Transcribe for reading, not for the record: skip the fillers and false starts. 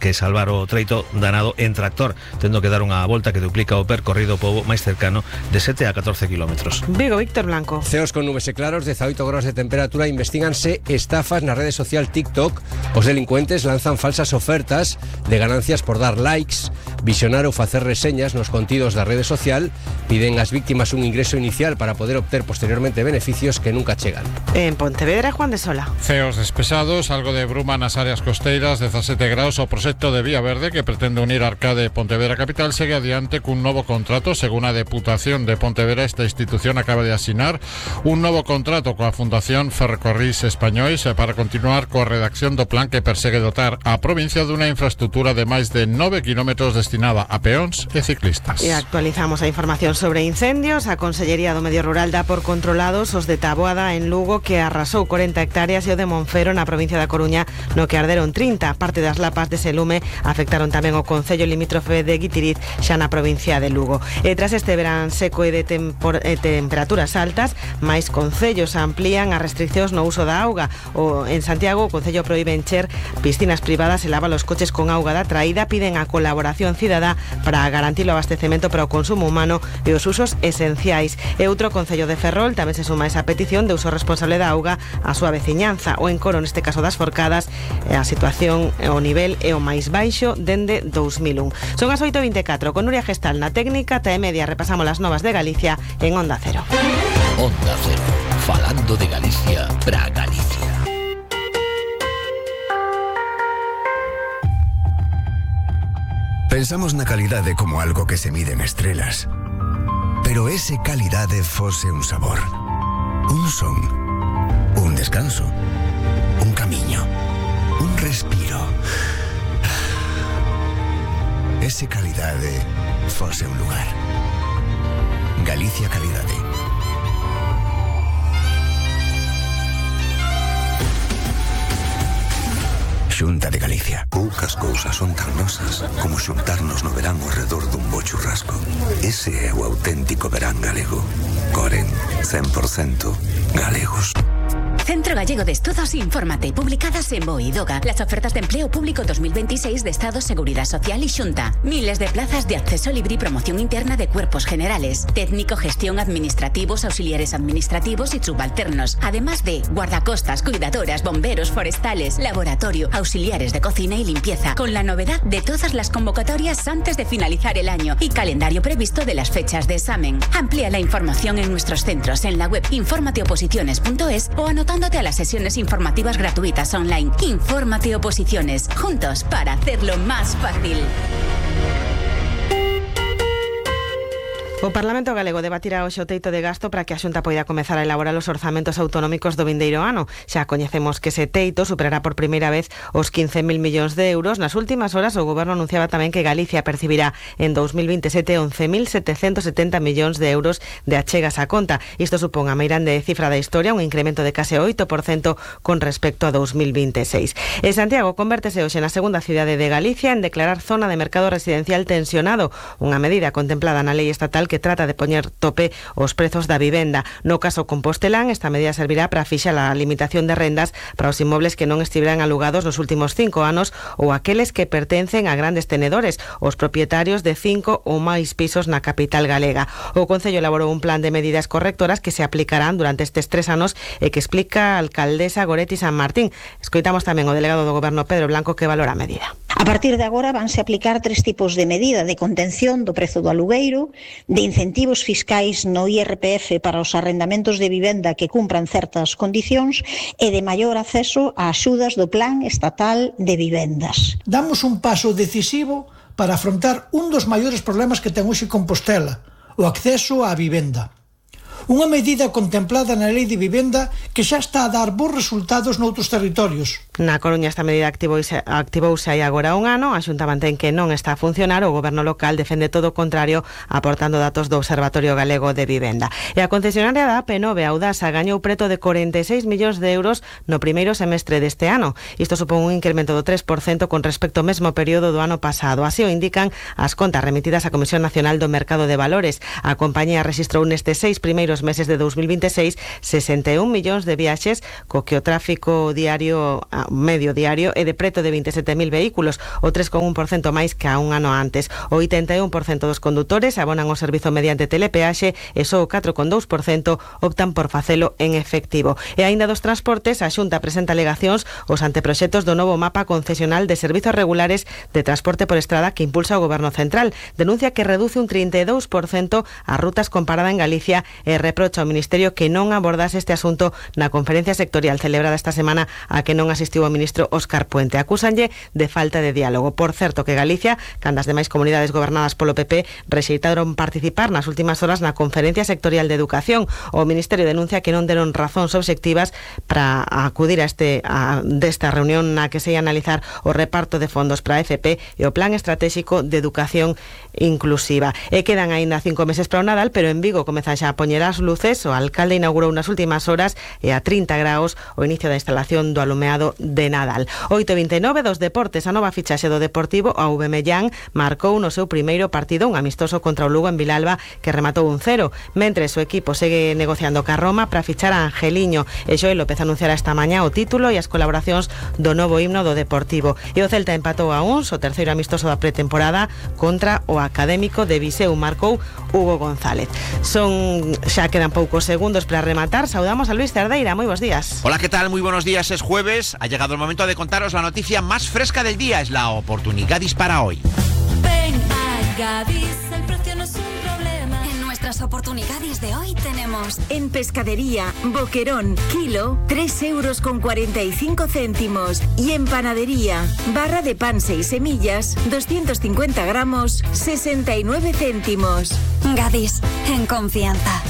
que salvar o treito danado en tractor, tendo que dar unha volta que duplica o percorrido pobo máis cercano de 7 a 14 kilómetros. Vigo, Víctor Blanco. Ceos con nubes e claros, 18 graus de temperatura. Investíganse estafas na rede social TikTok. Os delincuentes lanzan falsas ofertas de ganancias por dar likes, visionar ou facer reseñas nos contidos da rede social. Piden ás víctimas un ingreso inicial para poder obter posteriormente beneficios que nunca chegan. En Pontevedra, Juan de Sola. Ceos despesados, algo de bruma nas áreas costeiras, 17 graus. O proxecto de Vía Verde, que pretende unir Arcade e Pontevedra capital, segue adiante cun novo contrato. Según a Deputación de Pontevedra, esta institución acaba de asinar un novo contrato coa Fundación Ferrocarrís Españois para continuar coa redacción do plan que persegue dotar a provincia dunha infraestructura de máis de 9 kilómetros destinada a peóns e ciclistas. E actualizamos a información sobre incendios. A Consellería do Medio Rural dá por controlados os de Taboada en Lugo, que arrasou 40 hectáreas, e o de Monfero na provincia da Coruña, no que arderon 30. Parte das lapas dese lume afectaron tamén o concello limítrofe de Guitiriz, xa na provincia de Lugo. E tras este verán seco e de temperaturas altas, máis concellos amplían as restriccións no uso da auga. En Santiago, o concello proíbe encher piscinas privadas e lava os coches con auga da traída. Piden a colaboración cidadá para garantir o abastecemento para o consumo humano e os usos esenciais. E outro concello de Ferrol tamén se suma a esa petición de uso responsable da auga a súa veciñanza. O encoro, neste caso das Forcadas, a situación, o nivel é o máis baixo dende 2001. Son as 8:24, con Nuria Gestal na técnica. Ata e media repasamos as novas de Galicia en Onda Cero. Onda Cero, falando de Galicia para Galicia. Pensamos na calidade como algo que se mide en estrelas. Pero ese calidade fose un sabor, un son, un descanso, un camiño, un respiro. Ese calidade fose un lugar. Galicia Calidade. Xunta de Galicia. Poucas cousas son tan nosas como xuntarnos no verán ao redor dun bo churrasco. Ese é o auténtico verán galego. Coren, 100% galegos. Centro Gallego de Estudos Infórmate, publicadas en BOE y DOGA. Las ofertas de empleo público 2026 de Estado, Seguridad Social y Xunta. Miles de plazas de acceso libre y promoción interna de cuerpos generales, técnico, gestión, administrativos, auxiliares administrativos y subalternos. Además de guardacostas, cuidadoras, bomberos, forestales, laboratorio, auxiliares de cocina y limpieza. Con la novedad de todas las convocatorias antes de finalizar el año y calendario previsto de las fechas de examen. Amplía la información en nuestros centros en la web informateoposiciones.es o anotándote a las sesiones informativas gratuitas online. Infórmate Oposiciones, juntos para hacerlo más fácil. O Parlamento Galego debatirá hoxe o teito de gasto para que a Xunta poida comezar a elaborar os orzamentos autonómicos do vindeiro ano. Xa coñecemos que ese teito superará por primeira vez os 15.000 millóns de euros. Nas últimas horas o Goberno anunciaba tamén que Galicia percibirá en 2027 11.770 millóns de euros de achegas á conta. Isto supón a meirande cifra da historia, un incremento de case 8% con respecto a 2026. E Santiago convértese hoxe na segunda cidade de Galicia en declarar zona de mercado residencial tensionado, unha medida contemplada na lei estatal que trata de poñer tope aos prezos da vivenda. No caso compostelán, esta medida servirá para fixar a limitación de rendas para os inmobles que non estiveran alugados nos últimos 5 anos ou aqueles que pertencen a grandes tenedores, os propietarios de 5 ou máis pisos na capital galega. O Concello elaborou un plan de medidas correctoras que se aplicarán durante estes 3 anos e que explica a alcaldesa Goretti San Martín. Escoitamos tamén o delegado do Goberno, Pedro Blanco, que valora a medida. A partir de agora vanse aplicar 3 tipos de medida: de contención do prezo do alugueiro, de incentivos fiscais no IRPF para os arrendamentos de vivenda que cumpran certas condicións e de maior acceso a axudas do Plan Estatal de Vivendas. Damos un paso decisivo para afrontar un dos maiores problemas que ten hoxe Compostela, o acceso á vivenda. Unha medida contemplada na Lei de Vivenda que xa está a dar bons resultados noutros territorios. Na Coruña esta medida activouse hai agora un ano. A Xunta mantén que non está a funcionar. O Goberno local defende todo o contrario, aportando datos do Observatorio Galego de Vivenda. E a concesionaria da AP9, Audasa, gañou preto de 46 millóns de euros no primeiro semestre deste ano. Isto supón un incremento do 3% con respecto ao mesmo período do ano pasado. Así o indican as contas remitidas á Comisión Nacional do Mercado de Valores. A compañía rexistrou nestes 6 primeiros primeiros meses de 2026 61 millóns de viaxes, co que o tráfico diario medio diario é de preto de 27.000 vehículos, o 3,1% máis que a un ano antes. O 81% dos condutores abonan o servizo mediante telepeaxe e só o 4,2% optan por facelo en efectivo. E aínda dos transportes, a Xunta presenta alegacións os anteproxectos do novo mapa concesional de servizos regulares de transporte por estrada que impulsa o Goberno Central. Denuncia que reduce un 32% as rutas comparada en Galicia e reprocha ao Ministerio que non abordase este asunto na conferencia sectorial celebrada esta semana a que non asistiu o ministro Óscar Puente. Acúsanlle de falta de diálogo. Por certo que Galicia, cando as demais comunidades gobernadas polo PP, rexeitaron participar nas últimas horas na conferencia sectorial de educación. O Ministerio denuncia que non deron razóns obxectivas para acudir desta reunión na que se ia analizar o reparto de fondos para a FP e o Plan Estratégico de Educación Inclusiva. E quedan aínda 5 meses para o Nadal, pero en Vigo comezan xa a poñer as luces. O alcalde inaugurou nas últimas horas e a 30 graus o inicio da instalación do alumeado de Nadal. 8:29 dos deportes. A nova fichaxe do Deportivo, a Aubameyang, marcou no seu primeiro partido un amistoso contra o Lugo en Vilalba que rematou 1-0, mentres o equipo segue negociando ca Roma para fichar a Angeliño. E Joel López anunciará esta mañá o título e as colaboracións do novo himno do Deportivo. E o Celta empatou a 1, o terceiro amistoso da pretemporada contra o Académico de Viseu. Marcou Hugo González. Xa quedan poucos segundos para rematar. Saudamos a Luis Cerdeira. Moi bons días. Hola, ¿qué tal? Muy buenos días. Es jueves. Ha llegado el momento de contaros la noticia más fresca del día. Es la oportunidad dispara hoy. Ven a Gadis, el precio no es un problema. En nuestras oportunidades de hoy tenemos en pescadería Boquerón, kilo 3,45 €, y en panadería barra de pan 6 semillas 250 gramos 69 céntimos. Gadis, en confianza.